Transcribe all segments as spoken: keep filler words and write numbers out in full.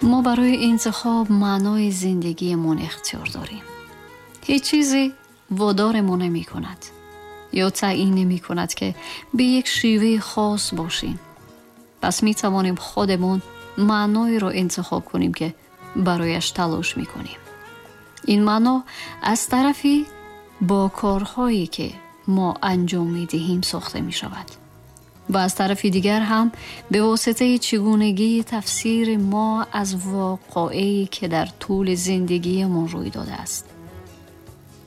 ما برای انتخاب معنای زندگیمون اختیار داریم. هیچ چیزی وادارمون نمی کند یا تعیین نمی کند که به یک شیوه خاص باشیم. پس می توانیم خودمون معنایی را انتخاب کنیم که برایش تلاش می کنیم. این معنا از طرفی با کارهایی که ما انجام می دهیم ساخته می شود و از طرف دیگر هم به واسطه چگونگی تفسیر ما از واقعی که در طول زندگیمون روی داده است.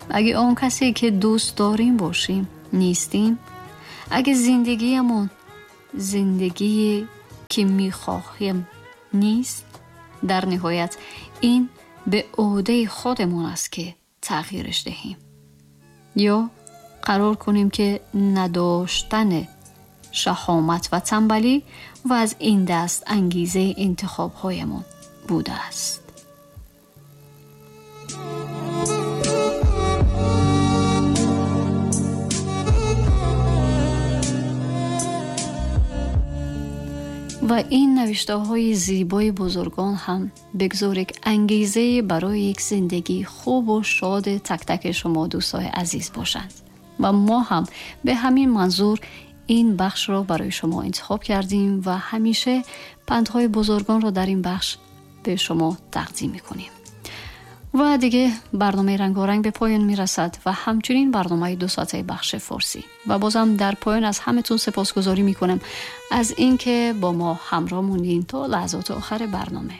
اگه آن کسی که دوست داریم باشیم نیستیم، اگه زندگیمون زندگی که میخواهیم نیست، در نهایت این به عهده خودمون است که تغییرش دهیم یا قرار کنیم که نداشتن شهامت و تنبلی و از این دست انگیزه انتخاب‌هایمان بوده است. و این نوشته‌های زیبای بزرگان هم بگذار یک انگیزه برای یک زندگی خوب و شاد تک تک شما دوستای عزیز باشند و ما هم به همین منظور این بخش را برای شما انتخاب کردیم و همیشه پندهای بزرگان را در این بخش به شما تقدیم می‌کنیم. و دیگه برنامه رنگارنگ به پایان میرسد و همچنین برنامه دو ساعته بخش فارسی. و بازم در پایان از همتون سپاسگزاری میکنم از اینکه با ما همراه موندین تا لحظات آخر برنامه.